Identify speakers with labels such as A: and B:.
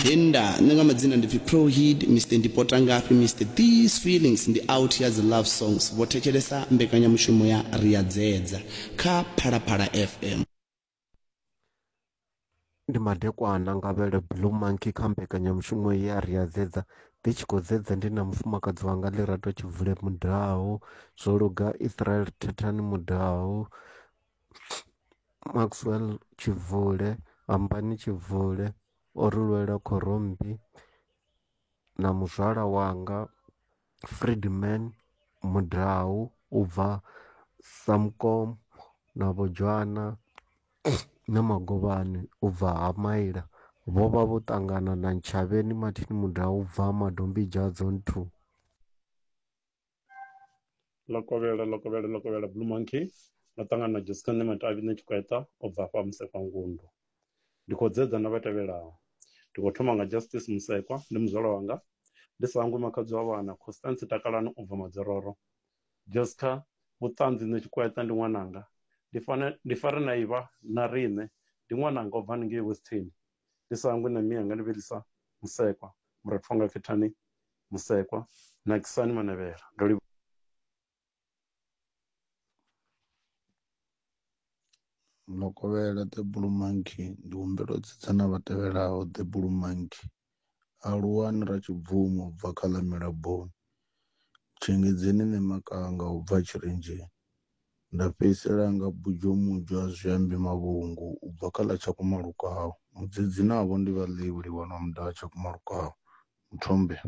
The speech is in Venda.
A: Nda nṋe nga madzina ndi pfi Prohid Mr Ndipota ngafhi Mr These Feelings ndi out ya dzi love songs vho thetshelesa mbekanyamushumo ya Ri a Dzedza kha Phalaphala FM.
B: Ndi madekwana nga vhele Blue Monkey kha mbekanyamushumo ya Ri a Dzedza ndi tshi khou dzedza ndi na mufumakadzi wanga Lerato Tshibvule Mudau, Zwoluga Israel Thethani Mudau, Maxwell Tshibvule, Hambani Tshibvule, o ri lwela khorommbi na muzwala wanga Friedman Mudau u bva Samkom na Vho Dzhwana na Magovhani u bva ha Maila vho vha vho ṱangana na Ntshavheni Martin Mudau u bva Madombidzha Zone 2.
C: Ḽokovhela ḽokovhela ḽokovhela Blue Monkey ndo ṱangana na Jessica Ṋematavhi Ṋetshikweta u bva hafha Musekwa Ngundu. Ndi khou dzedza na vha tevhelaho. Ndi khou thoma nga Justice Musekwa ndi muzwala wanga, ndi sa hangwi makhadzi wa vhana Constance Takalani u bva Madzororo. Jessica Vhuṱanzi Ṋetshikweta ndi ṅwananga, ndi fane ndi fare na ivha na riṋe ndi ṅwananga u bva haningei Western. Ndi sa hangwi na mianga ndi Vhelisa Musekwa, murathu wanga Khethani Musekwa, Nakisani Manavhela. Ndo livhuwa.
D: Ḽokovhela The Blue Monkey ndi humbela u tsitsa na vha tevhelaho The Blue Monkey, Aluwani Ratshibvumo u bva kha ḽa Milaboni, Tshengedzeni Ṋemakanga u bva Tshirenzheni, nda fhedzisela nga Bujomudzwa Zwiambi Mavhungu u bva kha ḽa Tshakumalukau. Mudzedzi navho ndi vha ḽewi Livhana Mudau Tshakumalukau. Muthombe.